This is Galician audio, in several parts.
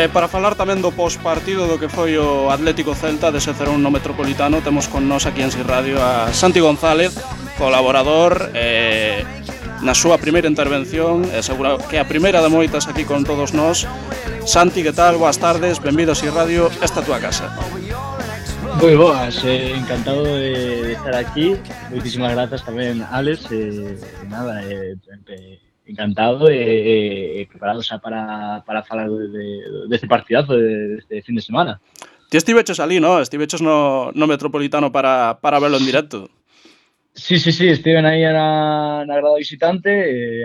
Para falar tamén do pospartido do que foi o Atlético Celta dese 0-1 no Metropolitano, temos con nós aquí en Si Radio a Santi González, colaborador, na súa primeira intervención, seguro que a primeira de moitas aquí con todos nós. Santi, que tal? Boas tardes, benvido a Si Radio, esta tua casa. Moi boas, encantado de estar aquí. Moitísimas grazas tamén, Alex, nada, encantado e preparado xa para falar deste partidazo deste fin de semana. Ti estiveches ali, no? Estiveches no Metropolitano para verlo en directo. Sí, estiven aí na grada visitante,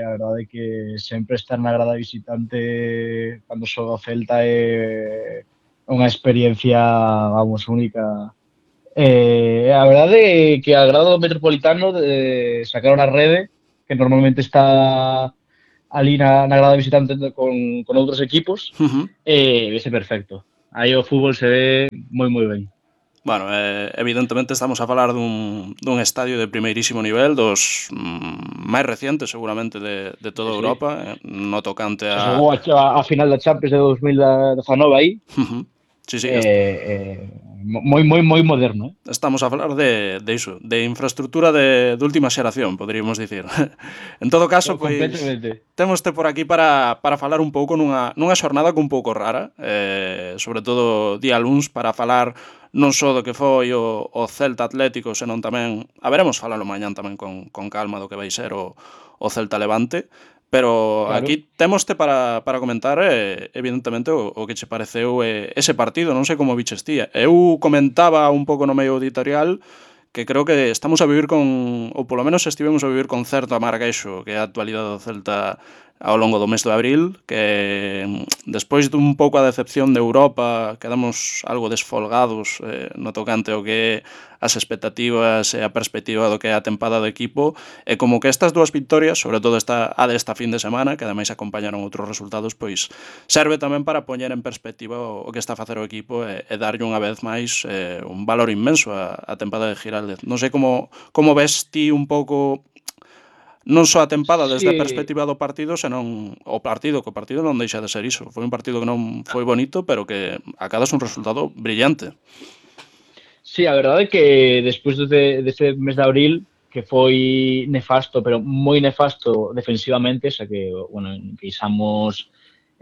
a verdade é que sempre estar na grada visitante cando xoga o Celta é unha experiencia, vamos, única. A verdade é que a grada do Metropolitano sacaron a rede, que normalmente está ali na grada visitante con outros equipos, vese perfecto. Aí o fútbol se ve moi ben. Bueno, evidentemente estamos a falar dun estadio de primeirísimo nivel, dos máis recientes seguramente de toda Europa, no tocante a... Se xogou a final da Champions de 2019 aí. Sí, moi moderno. Estamos a falar de iso, de infraestructura de última xeración, poderíamos dicir. En todo caso, pois, témoste por aquí para falar un pouco nunha xornada un pouco rara, sobre todo día luns, para falar non só do que foi o Celta Atlético, senón tamén, veremos falalo mañán tamén con calma do que vai ser o Celta Levante. Pero claro, aquí témoste para comentar, evidentemente, o que che pareceu ese partido, non sei como viches ti. Eu comentaba un pouco no medio editorial que creo que estamos a vivir ou polo menos estivemos a vivir con certo amarguexo, que é a actualidade do Celta ao longo do mes de abril, que despois dun pouco a decepción de Europa quedamos algo desfolgados no tocante ao que é as expectativas e a perspectiva do que é a tempada do equipo, e como que estas dúas victorias, sobre todo a desta fin de semana, que ademais acompañaron outros resultados, pois serve tamén para poñer en perspectiva o que está a facer o equipo e darlle unha vez máis un valor inmenso a tempada de Giraldez. Non sei como ves ti un pouco non só a tempada desde a perspectiva do partido, senón o partido, que o partido non deixa de ser iso. Foi un partido que non foi bonito, pero que acadas un resultado brillante. Sí, a verdade é que despois dese mes de abril, que foi nefasto, pero moi nefasto defensivamente, xa que, bueno, encaixamos,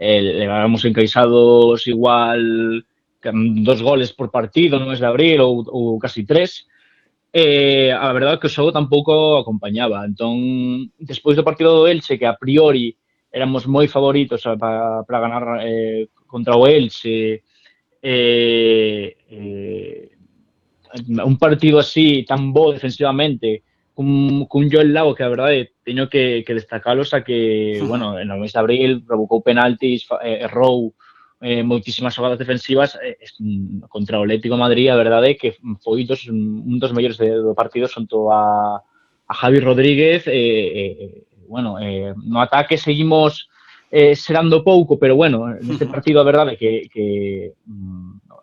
levamos encaixados igual 2 goles por partido no mes de abril ou casi 3, a verdade é que o xogo tampouco acompañaba. Entón, despois do partido do Elche, que a priori éramos moi favoritos para ganar contra o Elche, un partido así tan bo defensivamente, cun Joel Lago que a verdade teño que destacalo, xa que, bueno, no mes de abril provocou penaltis, errou moitísimas xogadas defensivas contra o Atlético de Madrid. A verdade é que foi un dos mellores do partido xunto a Javi Rodríguez. Bueno, no ataque seguimos serando pouco, pero bueno, neste partido a verdade é que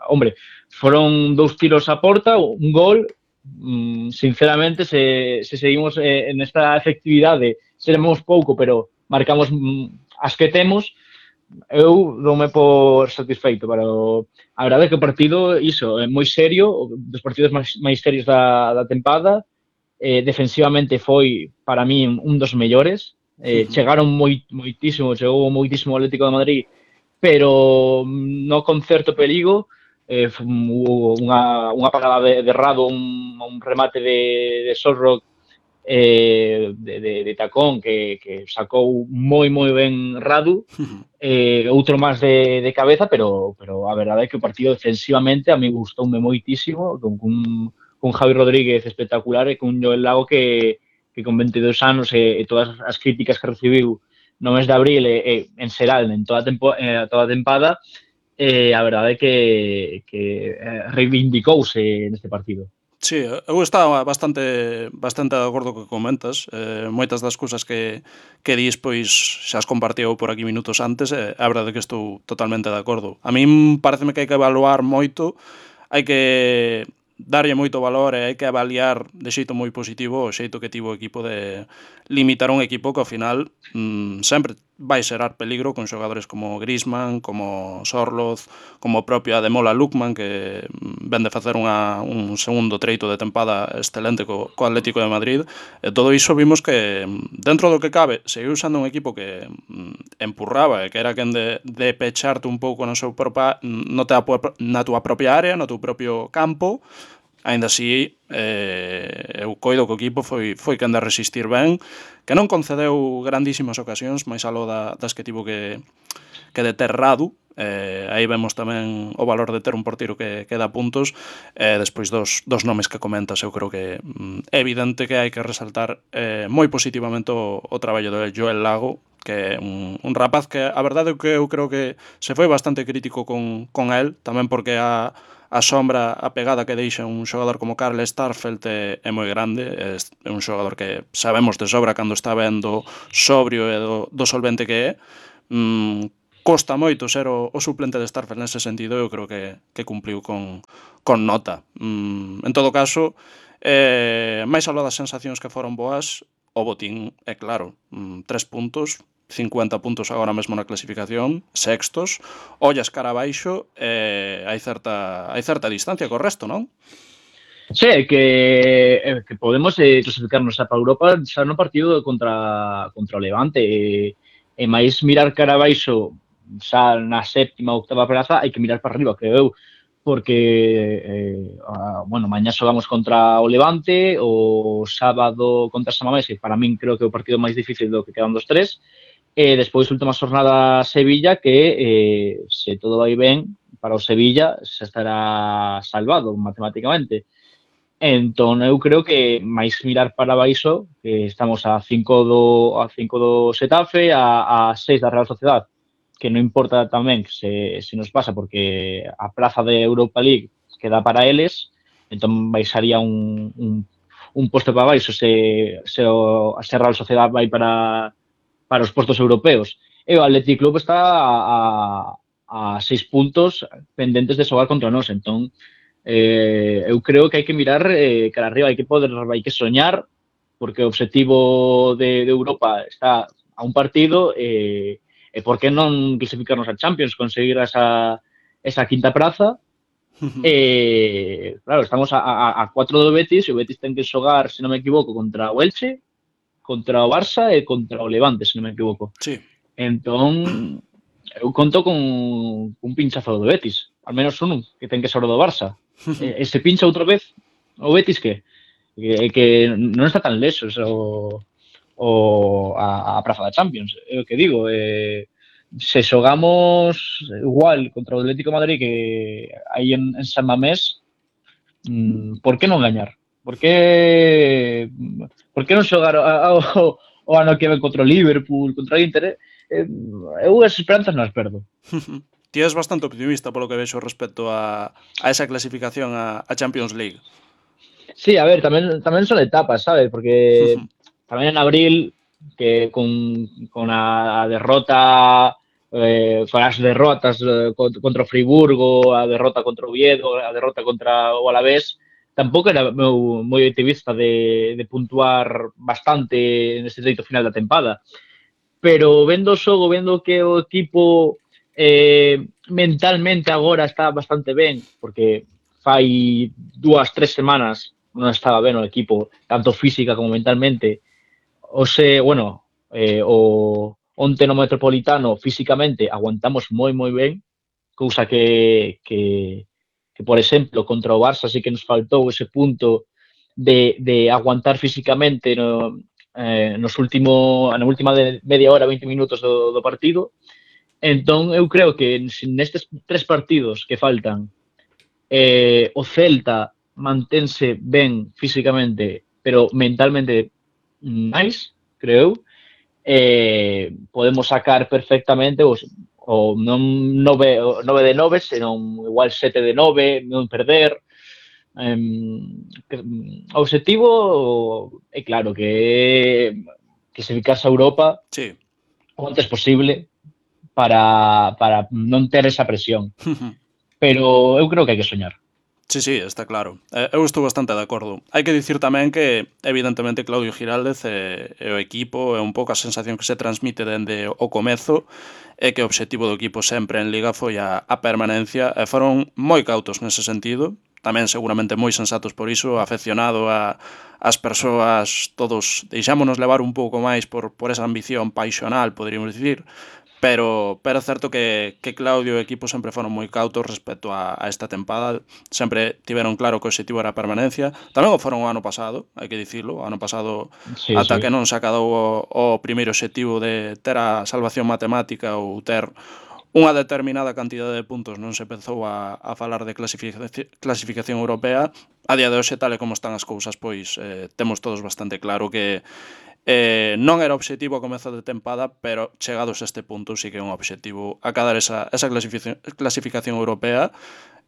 hombre, foron 2 tiros a porta, un gol. Sinceramente, se seguimos nesta efectividade, seremos pouco, pero marcamos as que temos, eu doume por satisfeito. Pero a verdade é que o partido, iso, é moi serio, dos partidos máis serios da tempada. Defensivamente foi, para mí, un dos mellores. Chegou moitísimo o Atlético de Madrid, pero no con certo perigo. Hubo unha parada de Rado, un remate de Sorrock de tacón que sacou moi ben Radu, outro máis de cabeza, pero a verdade é que o partido defensivamente a mí gustoume moitísimo, con Javi Rodríguez espectacular e con Joel Lago que con 22 anos e todas as críticas que recibiu no mes de abril en xeral en toda a tempada, a verdade é que reivindicouse neste partido. Sí, eu estaba bastante de acordo co que comentas. Moitas das cousas que dis, pois, xa as compartiu por aquí minutos antes, a verdade é que estou totalmente de acordo. A min pareceme que hai que evaluar moito, hai que darlle moito valor e hai que avaliar de xeito moi positivo o xeito que tivo o equipo de limitar un equipo que ao final sempre vai xerar peligro con xogadores como Griezmann, como Sorloth, como o propio Ademola Lookman, que ven de facer un segundo treito de tempada excelente co Atlético de Madrid. E todo iso vimos que, dentro do que cabe, seguiu usando un equipo que empurraba e que era quen de pecharte un pouco na túa propia área, no teu propio campo. Aínda así, eu coido que o equipo foi quen de resistir ben, que non concedeu grandísimas ocasións, máis aló das que tivo que deter Radu. Aí vemos tamén o valor de ter un porteiro que dá puntos. Despois dos nomes que comentas, eu creo que é evidente que hai que resaltar moi positivamente o traballo de Joel Lago, que é un rapaz que a verdade é que eu creo que se foi bastante crítico con el, tamén porque a sombra, a pegada que deixa un xogador como Karl Starfelt é moi grande. É un xogador que sabemos de sobra cando está vendo sobrio e do solvente que é. Costa moito ser o suplente de Starfelt nese sentido. Eu creo que cumpliu con nota. En todo caso, máis aló das sensacións que foron boas, o botín é claro, 3 puntos, 50 puntos agora mesmo na clasificación, sextos, ollas cara abaixo, hai certa distancia co resto, non? Sí, que podemos clasificarnos para Europa xa no partido contra o Levante, e máis mirar cara abaixo xa na séptima ou octava praza, hai que mirar para arriba, creo eu, porque bueno, mañá xogamos contra o Levante, o sábado contra Samamés, que para min creo que é o partido máis difícil do que quedan dos tres. E despois, última xornada Sevilla, que se todo vai ben para o Sevilla xa estará salvado matemáticamente. Entón, eu creo que máis mirar para baixo, que estamos a 5 do Xetafe, a 6 da Real Sociedad, que non importa tamén se nos pasa, porque a praza de Europa League queda para eles, entón baixaría un posto para baixo se a Real Sociedad vai para os postos europeos. E o Athletic Club está a 6 puntos pendentes de xogar contra nós. Entón, eu creo que hai que mirar cara arriba, hai que soñar, porque o objetivo de Europa está a un partido, e por que non clasificarnos a Champions, conseguir esa quinta praza. Claro, estamos a 4 do Betis, e o Betis ten que xogar, se non me equivoco, contra o Elche, contra o Barça e contra o Levante, se non me equivoco. Sí. Entón, eu conto con un pinchazo do Betis, al menos un que ten que ser o do Barça. E se pincha outra vez o Betis, que non está tan lexos a praza da Champions. É o que digo, se xogamos igual contra o Atlético de Madrid que aí en San Mamés, por que non gañar? Por que non xogar o ano que ven contra o Liverpool, contra o Inter? Eu as esperanzas non as perdo. Ti és bastante optimista polo que vexo respecto a esa clasificación a Champions League. Sí, a ver, tamén son etapas, sabes? Porque tamén en abril, que con a derrota, con as derrotas contra o Friburgo, a derrota contra o Oviedo, a derrota contra o Alavés, tampouco era moi optimista de puntuar bastante neste treito final da tempada. Pero vendo o xogo, vendo que o equipo mentalmente agora está bastante ben, porque fai 2-3 semanas non estaba ben o equipo, tanto física como mentalmente. Onte no Metropolitano físicamente aguantamos moi ben, cousa que por exemplo, contra o Barça sí que nos faltou ese punto de aguantar físicamente na última media hora, 20 minutos do partido. Entón, eu creo que nestes 3 partidos que faltan, o Celta mantense ben físicamente, pero mentalmente máis, creo eu, podemos sacar perfectamente o non 9 de 9, senón igual 7 de 9, non perder. O objetivo é claro que clasificarse a Europa sí, o antes posible, para non ter esa presión. Pero eu creo que hai que soñar. Sí, sí, está claro. Eu estou bastante de acordo. Hai que dicir tamén que, evidentemente, Claudio Giraldez e o equipo é un pouco a sensación que se transmite dende o comezo é que o obxectivo do equipo sempre en Liga foi a permanencia e foron moi cautos nese sentido, tamén seguramente moi sensatos por iso, afeccionado as persoas, todos deixámonos levar un pouco máis por esa ambición paixonal, poderíamos dicir, pero é certo que Claudio e o equipo sempre foron moi cautos respecto a esta tempada, sempre tiveron claro que o objetivo era a permanencia, tamén o foron o ano pasado, hai que dicilo, o ano pasado Sí, ata sí. que non se acadou o primeiro objetivo de ter a salvación matemática ou ter unha determinada cantidade de puntos non se empezou a falar de clasificación europea. A día de hoxe, tal e como están as cousas, pois temos todos bastante claro que non era obxectivo a comezo de tempada, pero chegados a este punto sí que é un obxectivo acadar esa clasificación europea,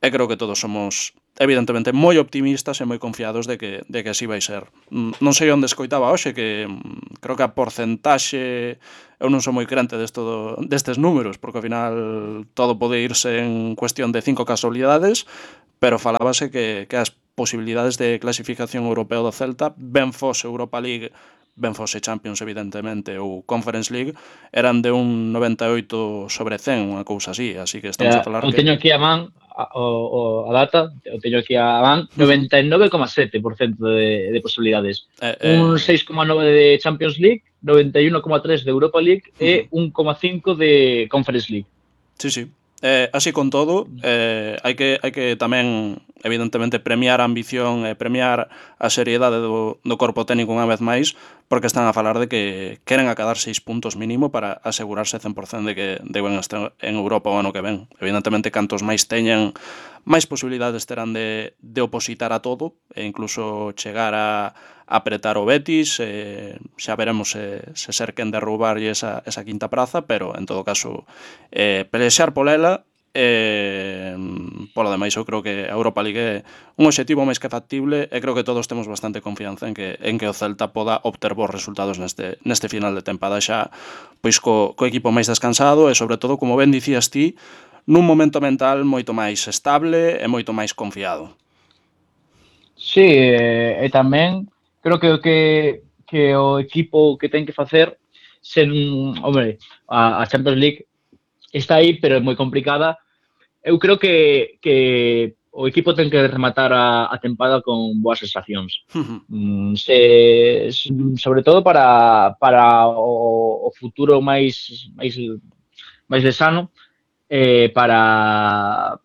e creo que todos somos evidentemente moi optimistas e moi confiados de que así vai ser. Non sei onde escoitaba hoxe que creo que a porcentaxe, eu non sou moi crente destes números, porque ao final todo pode irse en cuestión de 5 casualidades, pero falábase que as posibilidades de clasificación europea do Celta, ben fose Europa League, ben fose Champions evidentemente ou Conference League, eran de un 98/100, unha cousa así que estamos a falar Eu que... teño aquí a man a data, eu teño aquí a man 99,7% de posibilidades. Un 6,9 de Champions League, 91,3 de Europa League e 1,5 de Conference League. Sí, sí. Así con todo, hai que tamén, evidentemente, premiar a ambición e premiar a seriedade do corpo técnico unha vez máis, porque están a falar de que queren acadar 6 puntos mínimo para asegurarse 100% de que van a estar en Europa o ano que ven. Evidentemente, cantos máis teñan, máis posibilidades terán de opositar a todo e incluso chegar a apretar o Betis, xa veremos se ser quen derrubarlle esa quinta praza, pero en todo caso pelexar polela. Polo demais, eu creo que a Europa League é un obxectivo máis que factible e creo que todos temos bastante confianza en que o Celta poda obter bons resultados neste final de tempada xa, pois co equipo máis descansado e sobre todo, como ben dicías ti, nun momento mental moito máis estable e moito máis confiado. Sí, e tamén creo que o equipo que ten que facer hombre, a Champions League está aí, pero é moi complicada. Eu creo que o equipo ten que rematar a tempada con boas sensacións. Sobre todo para o futuro máis lexano, para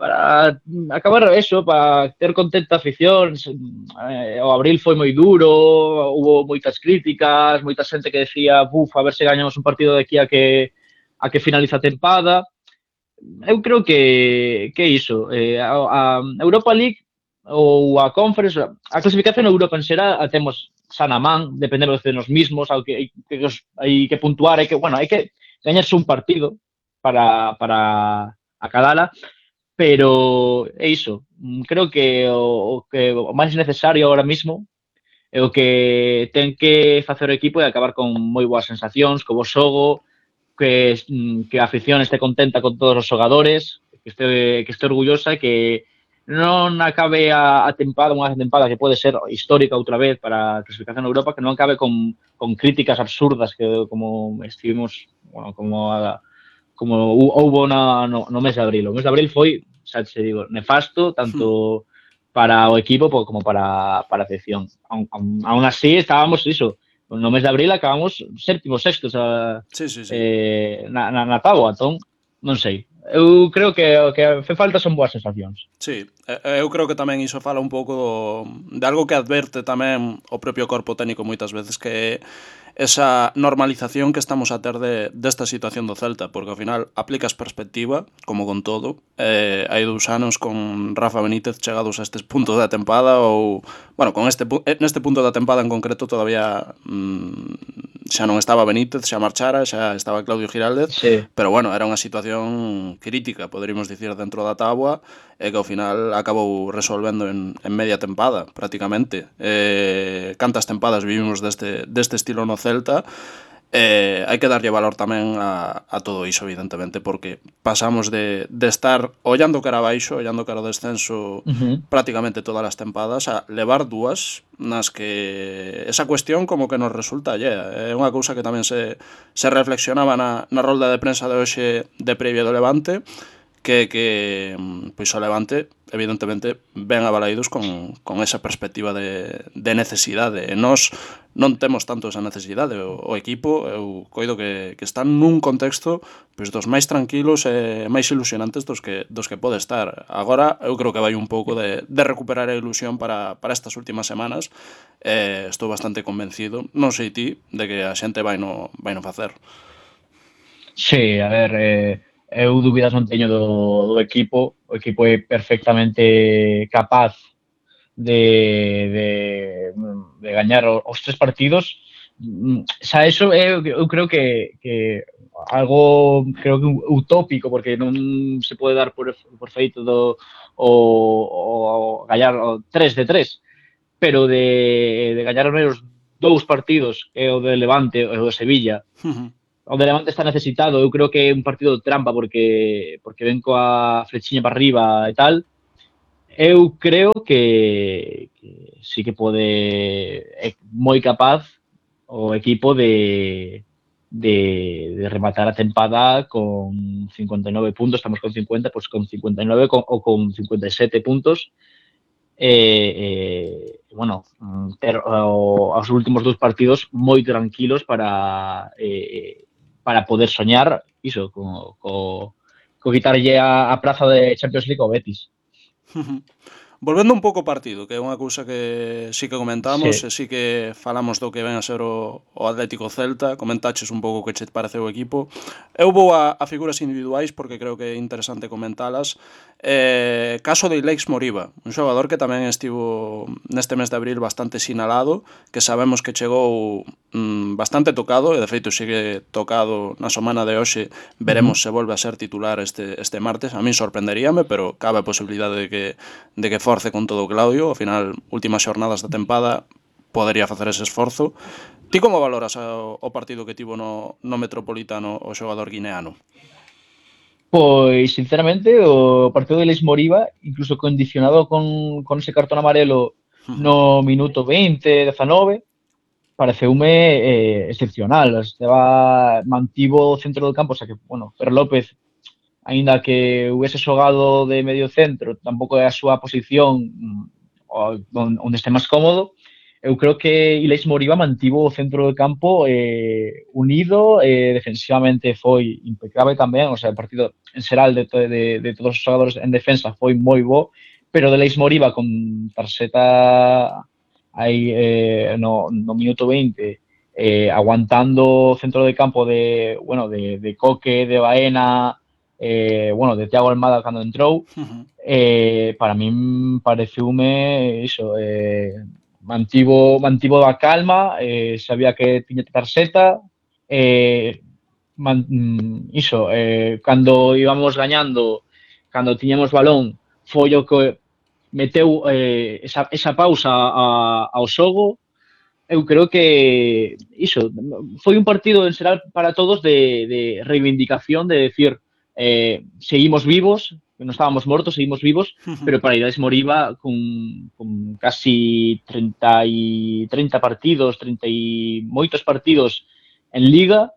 acabar eso, para ter contenta a afición. O abril foi moi duro, hubo moitas críticas, moita xente que decía, a ver se gañamos un partido de aquí a que finaliza a tempada. Eu creo que é iso. A Europa League ou a Conference, a clasificación a Europa en xeral a temos xa na man, dependemos de nos mismos, hai que puntuar, hai que gañarse un partido para acadala, pero é iso. Creo que o máis necesario agora mismo é o que ten que facer o equipo e acabar con moi boas sensacións, co bo xogo, que a afición este contenta con todos os xogadores, que este orgullosa, que non acabe a tempada, unha tempada que pode ser histórica outra vez para a clasificación en Europa, que non acabe con críticas absurdas que como estivemos, como houbo no mes de abril. O mes de abril foi, xa te digo, nefasto, tanto para o equipo como para a afición. Aún así, estábamos iso. No mes de abril acabamos séptimos, sextos na táboa, entón, non sei. Eu creo que o que fe falta son boas sensacións. Sí, eu creo que tamén iso fala un pouco de algo que adverte tamén o propio corpo técnico moitas veces, que é esa normalización que estamos a ter desta situación do Celta, porque ao final aplicas perspectiva, como con todo. Hai 2 anos con Rafa Benítez chegados a estes puntos da tempada, ou, bueno, neste punto da tempada en concreto todavía xa non estaba Benítez, xa marchara, xa estaba Claudio Giraldez, sí. Pero bueno, era unha situación crítica, poderíamos dicir, dentro da táboa, e que ao final acabou resolvendo en media tempada, prácticamente. Cantas tempadas vivimos deste estilo no Celta, hai que darlle valor tamén a todo iso, evidentemente, porque pasamos de estar ollando cara abaixo, ollando cara ao descenso prácticamente todas as tempadas, a levar dúas nas que esa cuestión como que nos resulta allea. É unha cousa que tamén se reflexionaba na rolda de prensa de hoxe de previa do Levante, que pois o Levante evidentemente ven abalaídos con esa perspectiva de necesidade, e nós non temos tanto esa necesidade. O equipo, eu coido que están nun contexto pois dos máis tranquilos e máis ilusionantes dos que pode estar. Agora eu creo que vai un pouco de recuperar a ilusión para estas últimas semanas. Estou bastante convencido, non sei ti, de que a xente vai no facer. Sí, a ver, eu dúbidas non teño do equipo. O equipo é perfectamente capaz de gañar os 3 partidos. Xa eso eu creo que algo creo que utópico, porque non se pode dar por feito o gañar 3 de 3, pero de gañar os menos 2 partidos, que é o de Levante e o de Sevilla. O de Levante está necesitado, eu creo que é un partido de trampa porque ven coa flechiña para arriba e tal. Eu creo que sí que pode, é moi capaz o equipo de rematar a tempada con 59 puntos, estamos con 50, pues con 59 ou con 57 puntos. Bueno, ter os últimos 2 partidos moi tranquilos para poder soñar iso, co quitarlle a praza de Champions League ao Betis. Volvendo un pouco ao partido, que é unha cousa que sí que comentamos, Sí. E sí que falamos do que ven a ser o Atlético Celta, comentaches un pouco que che pareceu o equipo. Eu vou a figuras individuais porque creo que é interesante comentalas. Caso de Ileix Moriba, un xogador que tamén estivo neste mes de abril bastante sinalado, que sabemos que chegou bastante tocado, e de feito sigue tocado na semana de hoxe. Veremos se volve a ser titular este martes. A min sorprenderíame, pero cabe a posibilidade de que force con todo o Claudio. Ao final, últimas xornadas da tempada, podería facer ese esforzo. Ti como valoras o partido que tivo no Metropolitano o xogador guineano? Pois, sinceramente, o partido de Ileix Moriba, incluso condicionado con ese cartón amarelo no minuto 20, 19, pareceume excepcional. Mantivo o centro do campo, o sea que, bueno, Fer López, aínda que hubiese xogado de medio centro, tampouco é a súa posición onde este máis cómodo. Eu creo que Ileix Moriba mantivo o centro do campo unido, defensivamente foi impecable tamén, o sea, o partido en xeral de todos os xogadores en defensa foi moi bo, pero de Ileix Moriba con tarxeta aí no minuto 20, aguantando o centro de campo de Coque, de Baena, de Thiago Almada cando entrou, para min pareceume iso, mantivo a calma, sabía que tiña tarxeta, cando íbamos gañando, cando tiñamos balón, foi o que meteu esa pausa ao xogo. Eu creo que iso foi un partido en xeral para todos de reivindicación, de decir seguimos vivos, non estábamos mortos, seguimos vivos, pero para Ileix Moriba con casi 30 partidos, 30 e moitos partidos en Liga,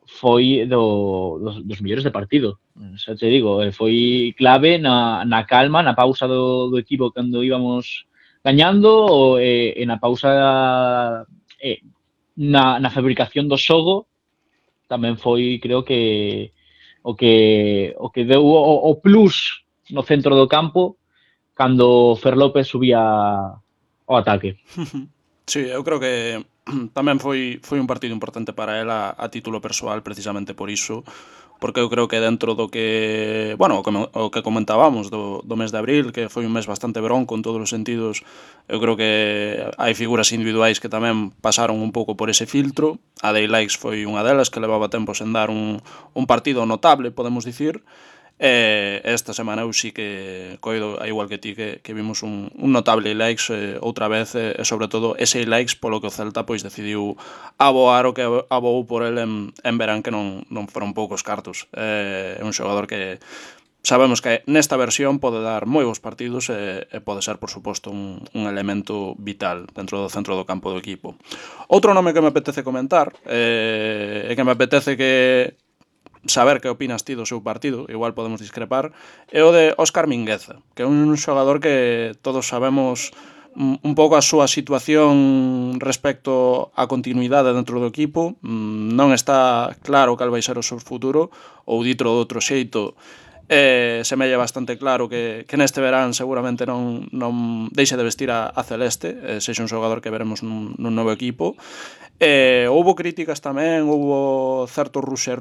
foi dos mellores de partido. Xa te digo, foi clave na calma, na pausa do equipo cando íbamos gañando, e na pausa na fabricación do xogo tamén foi, creo que o que deu o plus no centro do campo cando Fer López subía ao ataque. Sí, eu creo que tamén foi un partido importante para ela a título persoal, precisamente por iso, porque eu creo que dentro do que, bueno, o que comentábamos do mes de abril, que foi un mes bastante bronco en todos os sentidos, eu creo que hai figuras individuais que tamén pasaron un pouco por ese filtro. A de Ileix foi unha delas, que levaba tempo sen dar un partido notable, podemos dicir. Esta semana eu sí que coido, igual que ti, que vimos un notable likes outra vez, e sobre todo ese likes polo que o Celta pois decidiu aboar o que aboou por el en verán, que non foron poucos cartos. É un xogador que sabemos que nesta versión pode dar moi bons partidos e pode ser, por suposto, un elemento vital dentro do centro do campo do equipo. Outro nome que me apetece comentar e que me apetece que saber que opinas ti do seu partido, igual podemos discrepar, é o de Óscar Mingueza, que é un xogador que todos sabemos un pouco a súa situación respecto á continuidade dentro do equipo. Non está claro cal vai ser o seu futuro, ou dito de outro xeito, semella bastante claro que neste verán seguramente non deixe de vestir a celeste, sexa un xogador que veremos nun novo equipo. Houbo críticas tamén, houbo certo ruxe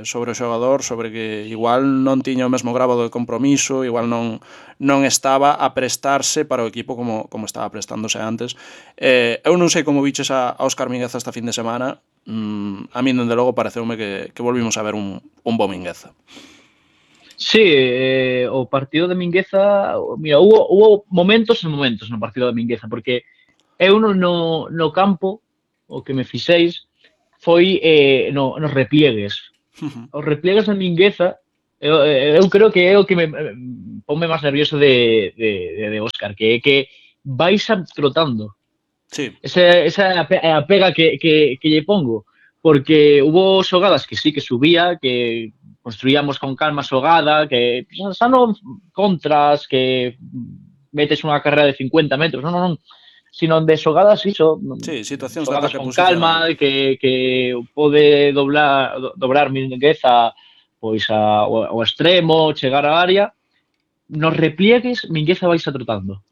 sobre o xogador, sobre que igual non tiña o mesmo grado de compromiso, igual non estaba a prestarse para o equipo como estaba prestándose antes. Eu non sei como viches a Óscar Mingueza esta fin de semana. A mí, dende logo, pareceume que volvimos a ver un bo Mingueza. Sí, o partido de Mingueza, mira, hubo momentos e momentos no partido de Mingueza, porque eu no campo, o que me fixeis foi nos repliegues. Os repliegues de Mingueza, eu creo que é o que me ponme máis nervioso de Óscar, que é que vais trotando. Sí. Esa é a pega que lle pongo, porque hubo xogadas que sí que subía, que construíamos con calma a xogada, que xa non contras, que metes unha carrera de 50 metros, non, sino de xogadas iso, sí, situacións xogadas con calma, que pode dobrar Mingueza pois ao extremo, chegar á área. Nos repliegues, Mingueza vais trotando.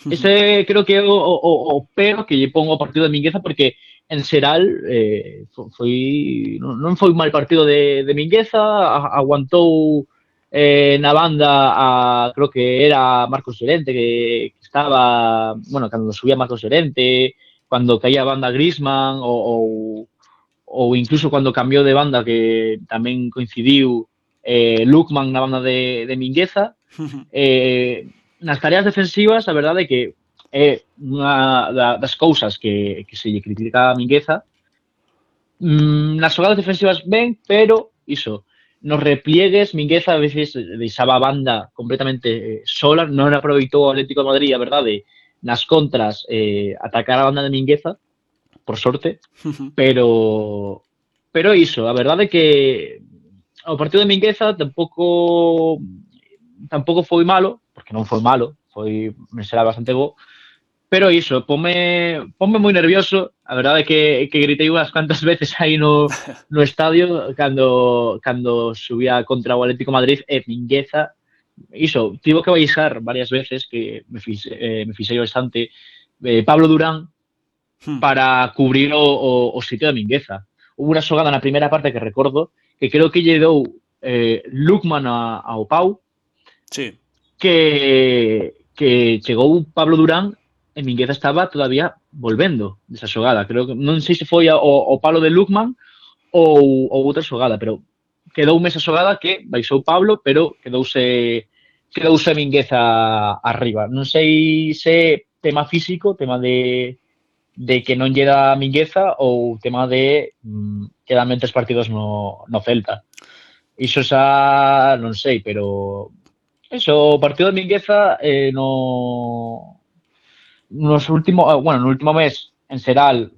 Ese creo que é o pero que lle pongo ao partido de Mingueza, porque en xeral non foi un mal partido de Mingueza, aguantou na banda creo que era Marcos Llorente que estaba, bueno, cando subía Marcos Llorente, cando caía a banda Griezmann ou incluso cando cambiou de banda, que tamén coincidiu Lookman na banda de Mingueza. Nas tareas defensivas, a verdade é que é unha das cousas que se lle critica a Mingueza. Nas xogadas defensivas ben, pero iso, nos repliegues Mingueza a veces deixaba a banda completamente sola, non aproveitou o Atlético de Madrid, a verdade, nas contras atacar a banda de Mingueza, por sorte, pero iso, a verdade é que o partido de Mingueza tampouco foi malo, porque non foi malo, será bastante bo, pero iso, ponme moi nervioso. A verdade é que gritei unhas cuantas veces aí no estadio cando subía contra o Atlético de Madrid, e Mingueza iso, tivo que baixar varias veces, que me fixei bastante, Pablo Durán para cubrir o sitio de Mingueza. Hubo unha xogada na primeira parte que recordo que creo que lle dou Lookman ao Pau, sí, que chegou Pablo Durán e Mingueza estaba todavía volvendo desa xogada. Creo que non sei se foi o palo de Lookman ou outra xogada, pero quedoume esa xogada que baixou Pablo, pero quedouse Mingueza arriba. Non sei se tema físico, tema de que non lle dá Mingueza, ou tema de quedan 3 partidos no Celta. Iso xa non sei, pero eso, o partido de Mingueza no último mes en xeral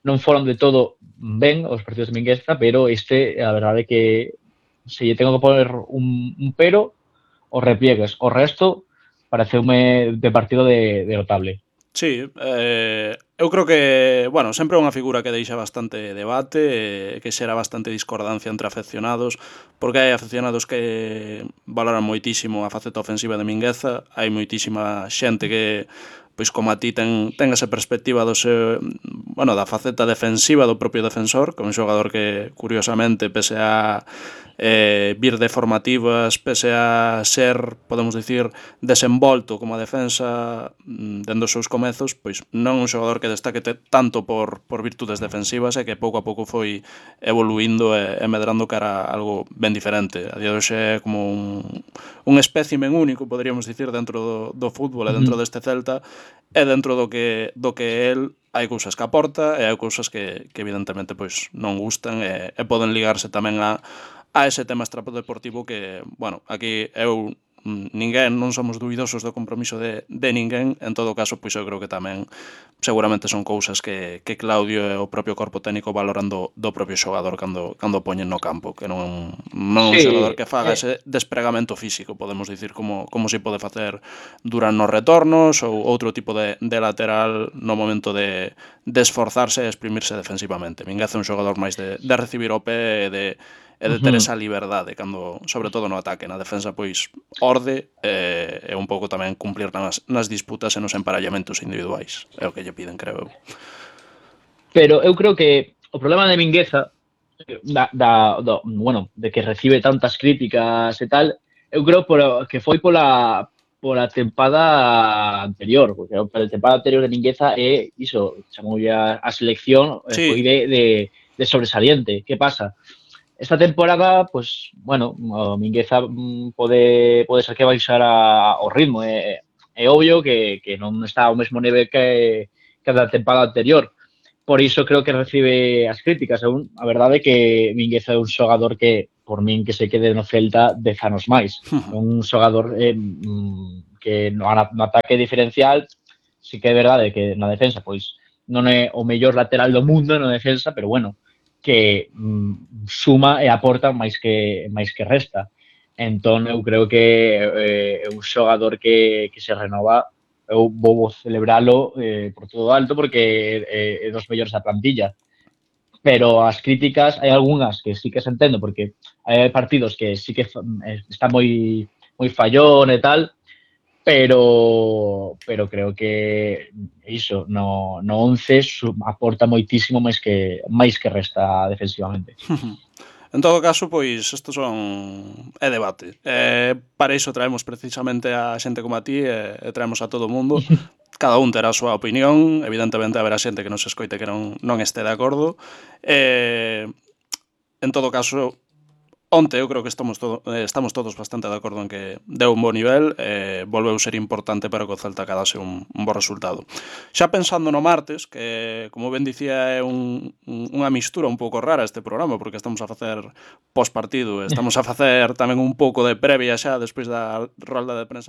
non foron de todo ben os partidos de Mingueza, pero a verdade é que se lle tengo que poner un pero, os repliegues. O resto pareceume de partido de notable. Sí, eu creo que, bueno, sempre é unha figura que deixa bastante debate, que xera bastante discordancia entre afeccionados, porque hai afeccionados que valoran moitísimo a faceta ofensiva de Mingueza, hai moitísima xente que, pois como a ti, ten esa perspectiva da faceta defensiva do propio defensor, que é un xogador que, curiosamente, pese a vir de formativas, pese a ser, podemos dicir, desenvolto como a defensa dende os seus comezos, pois non é un xogador que destaque tanto por virtudes defensivas e que pouco a pouco foi evoluindo e medrando cara a algo ben diferente. A día de hoxe é como un espécimen único, poderíamos dicir, dentro do fútbol e dentro deste Celta, e dentro do que el hai cousas que aporta e hai cousas que evidentemente pois non gustan e poden ligarse tamén a ese tema extradeportivo que, bueno, aquí ninguén, non somos duidosos do compromiso de ninguén, en todo caso, pois eu creo que tamén seguramente son cousas que Claudio e o propio corpo técnico valoran do propio xogador cando poñen no campo, que non un xogador que faga ese despregamento físico, podemos dicir, como se pode facer durante os retornos ou outro tipo de lateral no momento de esforzarse e exprimirse defensivamente. Mingueza é un xogador máis de recibir o pé e de ter esa liberdade cando, sobre todo no ataque, na defensa pois orde e un pouco tamén cumplir nas disputas e nos emparellamentos individuais. É o que lle piden, creo eu. Pero eu creo que o problema de Mingueza bueno, de que recibe tantas críticas e tal, eu creo que foi pola tempada anterior, porque a tempada anterior de Mingueza é iso, chamoulle a selección, foi de sobresaliente. Que pasa? Esta temporada, pues, bueno, o Mingueza pode ser que baixara o ritmo. É obvio que non está ao mesmo nivel que a temporada anterior. Por iso creo que recibe as críticas. A verdade é que Mingueza é un xogador que, por min, que se quede no Celta 10 anos máis. Un xogador que no ataque diferencial, sí que é verdade que na defensa, pois, non é o mellor lateral do mundo na defensa, pero bueno, que suma e aporta máis que resta. Entón, eu creo que é un xogador que se renova. Eu vou celebralo por todo alto porque é dos mellores da plantilla. Pero as críticas, hai algunhas que sí que se entendo, porque hai partidos que sí que está moi fallón e tal, pero creo que iso no 11 aporta moitísimo máis que resta defensivamente. En todo caso, pois, isto é debate. Para iso traemos precisamente a xente como a ti e traemos a todo o mundo. Cada un terá a súa opinión, evidentemente haberá xente que nos escoite que non este de acordo. En todo caso, onte eu creo que estamos todos bastante de acordo en que deu un bo nivel e volveu ser importante para que o Celta cadase un bo resultado. Xa pensando no martes, que como ben dicía é unha mistura un pouco rara este programa, porque estamos a facer postpartido, estamos a facer tamén un pouco de previa xa despois da rolda de prensa